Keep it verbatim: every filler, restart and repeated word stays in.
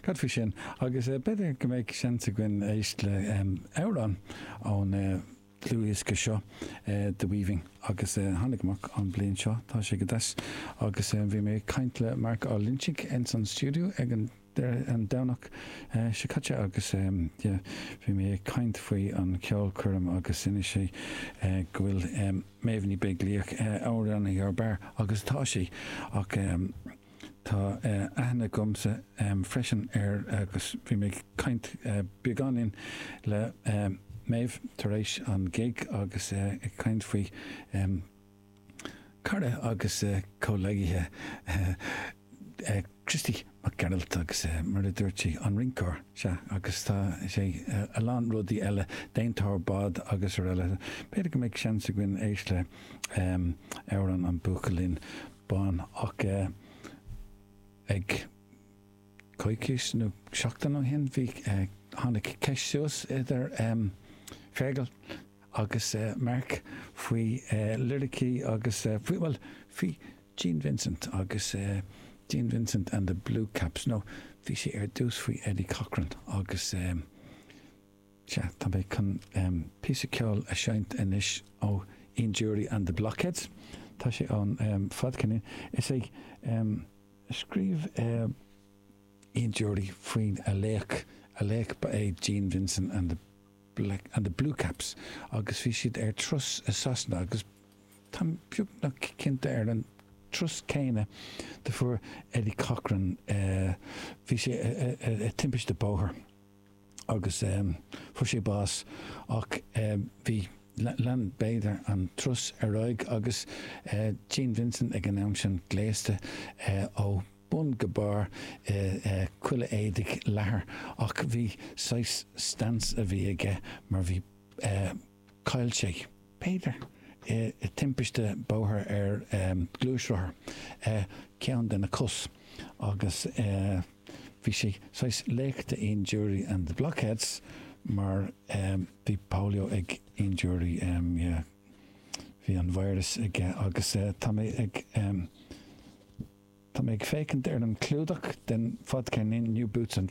Cad faoi sin agus uh, b'fhéidir go mbeidh seans againn éisteacht le um, amhrán ón uh, dlúthdhiosca seo uh, The Weaving agus uh, tháinig amach an bliain seo tá sé go deas agus uh, bhí mé ag caint le Mark Ó Loinsigh in san stiúideo ag an an Domhnach uh, seo caite agus um, yeah, bhí mé ag caint faoi an ceolchoirm agus inis sé uh, go bhfuil um, Méabh Ní Bheaglaoich uh, amhránaí ar barr agus tá sí ach um, tá uh, aithne agamsa um, freisin ar agus bhí mé ag caint uh, beagáinín le um, Méabh tar éis an gig agus uh, ag caint faoi um, cara agus uh, comhghleacaithe uh, uh, Christy Mac Gearailt agus uh, mar a dúirt sí an rinceoir sea agus tá sé uh, a lán rudaí eile déantóir bád agus araile. B'fhéidir go mbeidh seans againn éisteacht le um, amhrán an buachaillín bán ach uh, ag coicís nó seachtain ó shin bhí uh, tháinig ceist suas idir um, Fergal agus uh, Mark faoi uh, liricí agus uh, faoi well faoi Gene Vincent agus uh, Gene Vincent and the Blue Caps no bhí sé ar dtús faoi Eddie Cochran agus um, sea tá mé chun um, píosa ceoil a sheinnt anois ó Ian Dury and the Blockheads Tá sé an um, fadceann is é um, scríobh uh, Ian Dury faoin a laoch a laoch ba é Gene Vincent and the Black and the Blue Caps agus bhí siad ar turas i Sasana agus tá beagnach cinnte ar an turas céanna do fuair Eddie Cochran uh, bhí sé i timpiste bóthair agus um, fuair sé bás ach um, bhí lean b'fhéidir an turas ar aghaidh agus uh, Gene Vincent ag an am sin gléasta uh, ó bun go barr uh, uh, chuile éadaigh leathair ach bhí saghas stance a bhí aige mar bhí uh, chaill sé b'fhéidir i timpiste bóthair ar um, gluaisrothar uh, ceann de na cos agus uh, bhí sé saghas laoch do Ian Dury and the Blockheads mar um, bhí polio ag Ian Dury um, yeah, bhí an virus aige agus uh, tá mé ag um, Tá mé ag féachaint ar an clúdach den fadcheirnín New Boots and